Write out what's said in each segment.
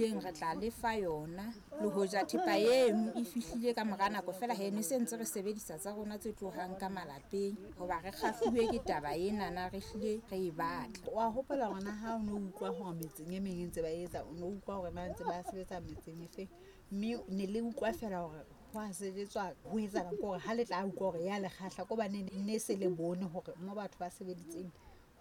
fihlileng re tla lefa yona. Le hoja thepa eno e fihlile ka mora nako feela he ne se ntse re sebedisa tsa rona tse tlohang ka malapeng hoba re kgahluwe ke taba enana, re hlile re e batla. Wa hopola hore na ha o no utlwa hore metseng e meng e ntse ba etsa, o no utlwa hore na ntse ba sebetsa metseng e feng, mme ne le utlwa feela hore ho a sebetswa ho etsahalang, ke hore ha le tla utlwa hore ya le kgahla ke hobane ne se le bone hore mo batho ba sebeditseng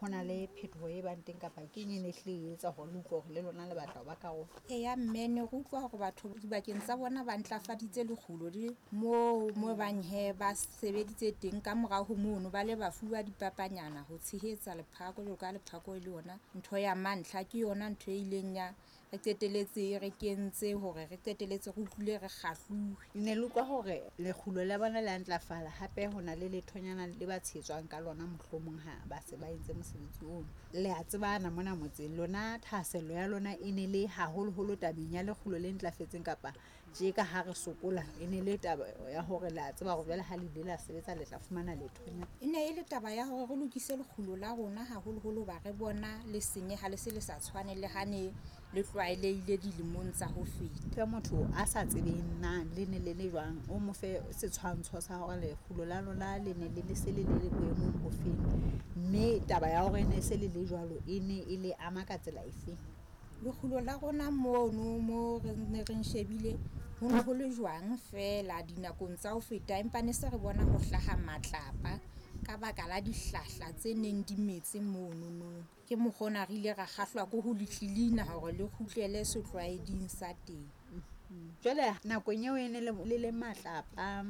ho na le phetoho e bang teng, kapa ke eng e ne hlile e etsa hore le utlwe hore le lona le batla ho ba karolo? Eya mme, ne re utlwa hore batho dibakeng tsa bona ba ntlafaditse lekgulo le moo mo bang he ba sebeditse teng. Ka morao ho mono ba le ba fuwa dipapanyana ho tshehetsa lephako, jwalo ka lephako e le yona ntho ya mantlha. Ke yona ntho e ileng ya re qeteletse re kentse hore re qeteletse re utlwile re kgahluwe. Ne le utlwa hore lekgulo la bona le a ntlafala, hape ho na le lethonyana le ba tshehetswang ka lona mohlomong ha ba se ba entse mosebetsi ono. Le a tsebana mona motseng, lona thahasello ya lona e ne le haholoholo tabeng ya lekgulo le ntlafetseng, kapa tje ka ha re sokola e ne le taba ya hore le a tseba hore jwale ha le ile la sebetsa le tla fumana lethonyana? E ne e le taba ya hore re lokise lekgulo la rona haholoholo hoba re bona le senyeha, le se le sa tshwane le ha ne le tlwaelehile dilemong tsa ho feta. Fe motho a sa tsebeng na le ne le le jwang, o mo fe setshwantsho sa hore lekgulo la lona le ne le le se le le boemong bo feng, mme taba ya hore ne se le le jwalo e ne e le ama ka tsela efeng? Lekgulo la rona mono mo re ne re shebile ho ne ho le jwang feela dinakong tsa ho feta, empa ne se re bona ho hlaha matlapa ka baka la dihlahla tse neng di metse monono. Ke mokgwa ona re ile ra kgahlwa ke ho le tlilina hore le kgutlele setlwaeding sa teng. Jwale nakong eo e ne le le matlapa,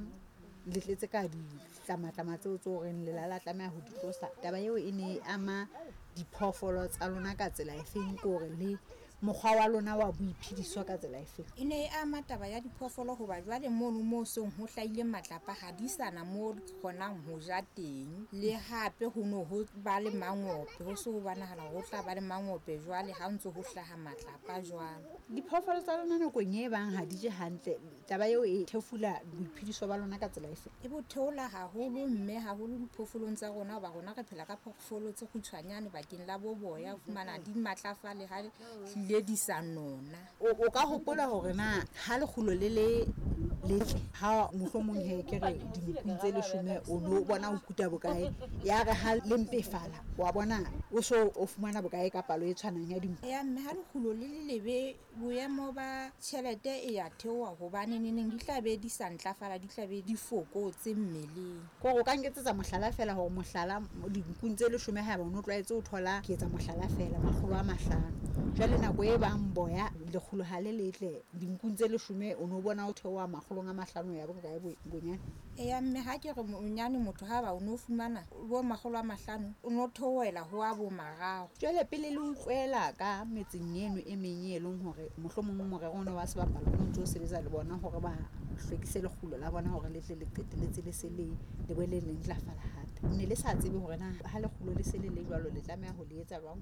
le tletse ka ditlamatlama tseo tse horeng le la tlameha ho di tlosa, taba eo e ne e ama diphoofolo tsa lona ka tsela efeng, ke hore le mokgwa wa lona wa boiphediso ka tsela efeng? E ne e ama taba ya diphoofolo hoba jwale mono moo seng ho hlahile matlapa ha di sana mo di kgonang ho ja teng. Le hape ho no ho ba le mangope, ho se ho bonahala hore ho tla ba le mangope jwale ha ntso ho hlaha matlapa jwalo. Diphoofolo tsa lona nakong e bang ha di je hantle, taba eo e thefula boiphediso ba lona ka tsela efe? E bo theola haholo mme, haholo diphoofolong tsa rona hoba rona re phela ka phoofolo tse kgutshwanyane bakeng la bo boya, o fumana di matlafale ha hlile di sa nona. O ka hopola hore na ha lekgulo le le letle, ha mohlomong he ke re dinkung tse 10 o no bona o kuta bokae, ya re ha le mpefala wa bona o so o fumana bokae ka palo e tshwanang ya dinku? Eya mme, ha lekgulo le le lebe boemo ba tjhelete e ya theoha hobane neneng di tla be di sa ntlafala, di tla be di fokotse mmeleng. Ke hore o ka nketsetsa mohlala feela hore mohlala dinkung tse 10 haeba o no tlwaetse ho thola, ke etsa mohlala feela, 500. Jwale nako e bang boya lekgulo ha le letle, dinkung tse 10 o no bona o theoha 500 ya bokae bonyane? Eya mme, ha ke re bonyane motho ha ba o no fumana bo 500 o no theohela ho a bo 3. Jwale pele le utlwela ka metseng eno e meng e leng hore mohlomong morero ona wa sebapalo o ntso sebetsa le bona hore ba hlwekise lekgulo la bona hore le tle le qetelletse le se le le boele le ntlafala hape, ne le sa tsebe hore na ha lekgulo le se le le jwalo le tlameha ho le etsa jwang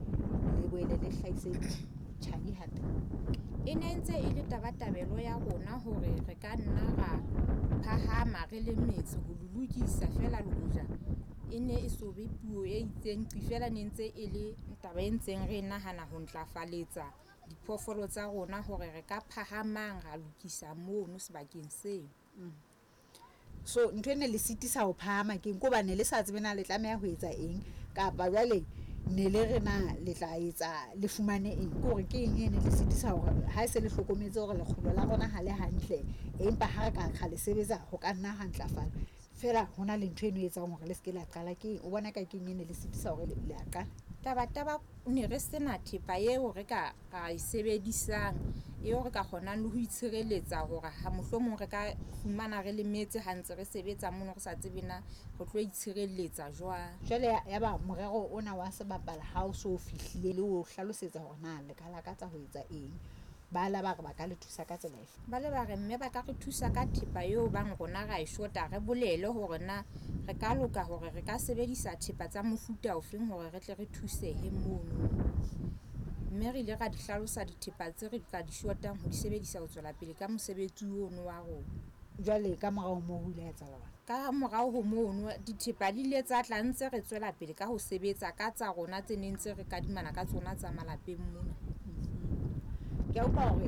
le boele le hlahise tjhai hape? E ne ntse e le tabatabelo ya rona hore re ka nna ra phahama re le metse ho le lokisa feela, le hoja e ne e so be puo e itseng qi feela, ne ntse e le taba e ntseng re nahana ho ntlafaletsa diphoofolo tsa rona hore re ka phahamang ra lokisa mono sebakeng seo. So ntho e ne le sitisa ho phahama ke eng? Ke hobane le sa tsebe na le tlameha ho etsa eng, kapa jwale ne le re na le tla etsa le fumane eng? Ke hore ke eng e ne le sitisa hore ha e se le hlokometse hore lekgulo la rona ha le hantle, empa ha re ka ra le sebetsa ho ka nna ha ntlafala, feela ho na le ntho eno e etsang hore le se ke la qala? Ke eng o bona ka ke eng e ne le sitisa hore le a qala? Taba ne re sena thepa eo re ka ra e sebedisang, eo re ka kgonang le ho itshireletsa hore ha mohlomong re ka fumana re lemetse ha ntse re sebetsa mono, re sa tsebe na re tlo itshireletsa jwang. Jwale ya ba morero ona wa sebapala ha o so fihlile le o hlalosetsa hore na le ka lakatsa ho etsa eng, ba la ba re ba ka le thusa ka tsela efe? Ba le ba re mme ba ka re thusa ka thepa eo bang rona ra e shota, re bolele hore na re ka loka hore re ka sebedisa thepa tsa mofuta ofeng hore re tle re thusehe mono. Mme re ile ra di hlalosa dithepa tse re ka di shotang ho di sebedisa ho tswela pele ka mosebetsi ono wa rona. Jwale ka morao ho moo ho ile ha etsahala jwang? Ka morao ho mono dithepa di ile tsa tla ntse re tswela pele ka ho sebetsa ka tsa rona tse neng ntse re kadimana ka tsona tsa malapeng mona. Ke a utlwa hore e